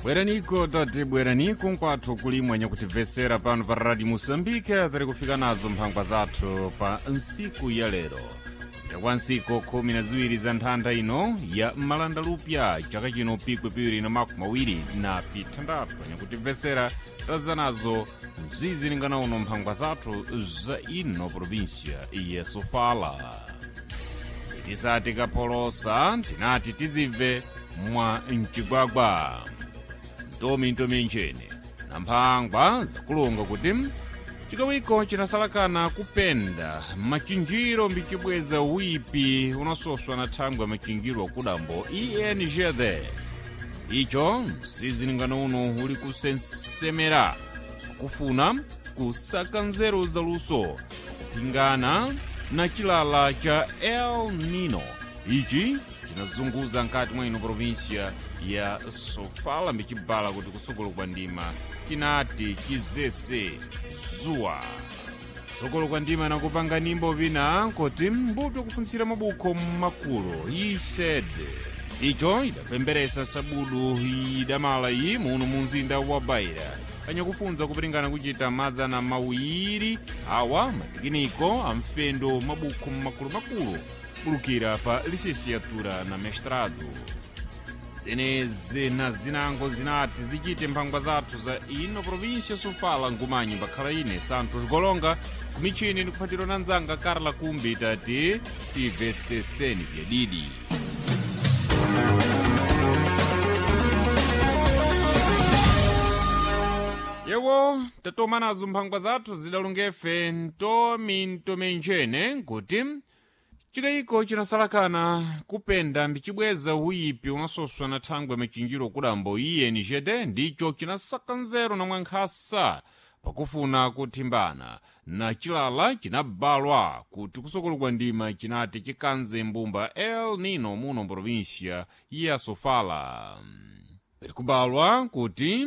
Bweraniko, tati bweraniko nkwathu kulimwe nyakutimvesera pano pa Radio Moçambique. Tiri kufika nazo mphangwa zathu pa ntsiku ya lero yakwa ntsiku 12 za nthanda ino ya malandalupya, chaka chino 2026. Nyakutimvesera, tadza nazo mzizilingana uno mphangwa zathu za ino província ya Sofala. Tisati kapholosa, tinati tizibve mwa mchigwagwa ntomi nchene na mphangwa zakulonga kuti chikawiko chinasalakana kupenda machinjiro mbichibweza wipi unasoswa na thangwi ya machinjiro akudambo ENGD. Icho msizilingano uno uli kusensemera kufuna kusaka nzeru zaluso kupingana na chilala cha El Nino ichi chinazunguza nkati mwa ino província ya Sofala, mbicibala kuti kusukulu kwa ndima chinati chizese zuwa sukulu kwa ndima nakupanga nimbo vina kuti mbuto kufuntsira mabukho mmakulu ised. Icho idapemberesa sabudu idamala iyi muno mu mzinda wa Baira, anyakufunza kupilingana kuchita 200 awa matikiniko amfendo mabukho mmakulumakulu bulukira pa licenciatura na mestrado. Zenezi na zinango zinati zichite mphangwa zathu za ino província Sofala. Ngumanyi mbakhala ine Santos Golonga kumichini ndikuphatidwa na nzanga Carla Kumbi. Tati timveseseni vyadidi. Yewo tatoma nazo mphangwa zathu zidalungefe ntomi ntomenjene nkuti chikayiko chinasalakana kupenda mbichibweza uyipi unasoswa na thangwi machinjiro kudambo INGD, ndicho chinasaka nzeru na mwankhasa pakufuna kuthimbana na chilala chinabalwa kuti kusokolo kwa ndima chinati chikanze mbumba El Nino muno província ya Sofala. Likubalwa kuti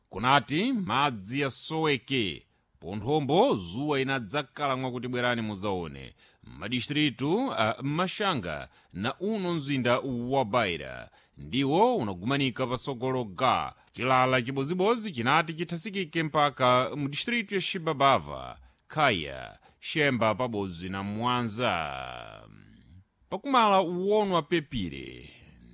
kunati madzi asoweke ponthombo zuwa inadzakhala mwakuti bwerani muzaone madistritu a Mashanga na uno mzinda wa Baira ndiwo unagumanika pasogolo ga chilala chibozibozi chinati chithasikike mpaka mudistritu ya Xibabava, Khaya, Xemba pabodzi na Mwanza. Pakumala uwonwa pepire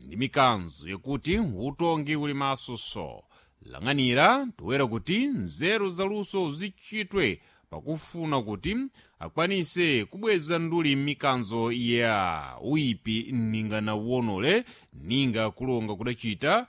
ndi mikanzo yakuti utongi uli maso so lang'anira toera kuti nzeru zaluso zichitwe pakufuna kuti akwanise kubweza nduli mikanzo ya uyipi ninga na uwonole ninga kulonga kudachita.